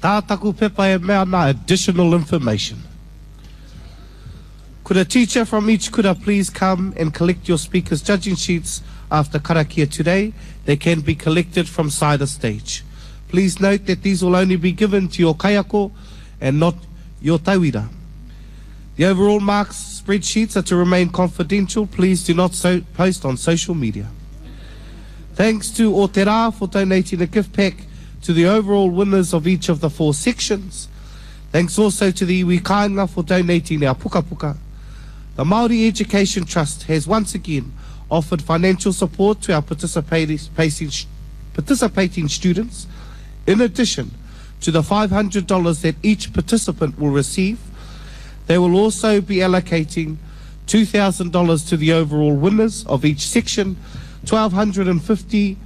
Tā taku pepa e mea ana additional information. Could a teacher from each kura please come and collect your speakers judging sheets after karakia today? They can be collected from side of stage. Please note that these will only be given to your kaiako and not your tauira. The overall marks spreadsheets are to remain confidential. Please do not so post on social media. Thanks to Otera for donating a gift pack to the overall winners of each of the four sections. Thanks also to the iwi kāinga for donating our pukapuka. The Māori Education Trust has once again offered financial support to our participating, participating students in addition to the $500 that each participant will receive. They will also be allocating $2,000 to the overall winners of each section, $1,250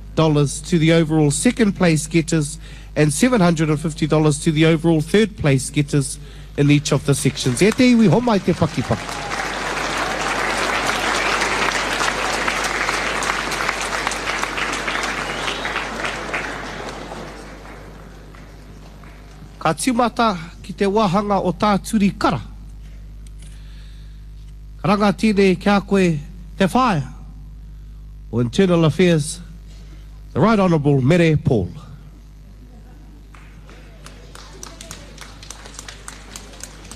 to the overall second place getters, and $750 to the overall third place getters in each of the sections. E te iwi, homai te pakipaki. Ka tīmata ki te wāhanga o Tā Turi Kara. Karanga tēnei ki a koe te whaea o Internal Affairs, the Right Honourable Mere Paul.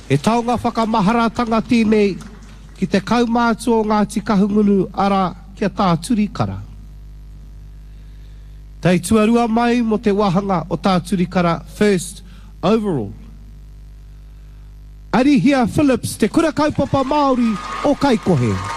He taonga whakamaharatanga tēnei ki te kaumātua o Ngāti Kahungunu, arā, ki a Tā Turi Kara. Tei tuarua mai mō te wāhanga o Tā Turi Kara First Overall. Arihia Phillips, Te Kura Kaupapa Māori o Kaikohe.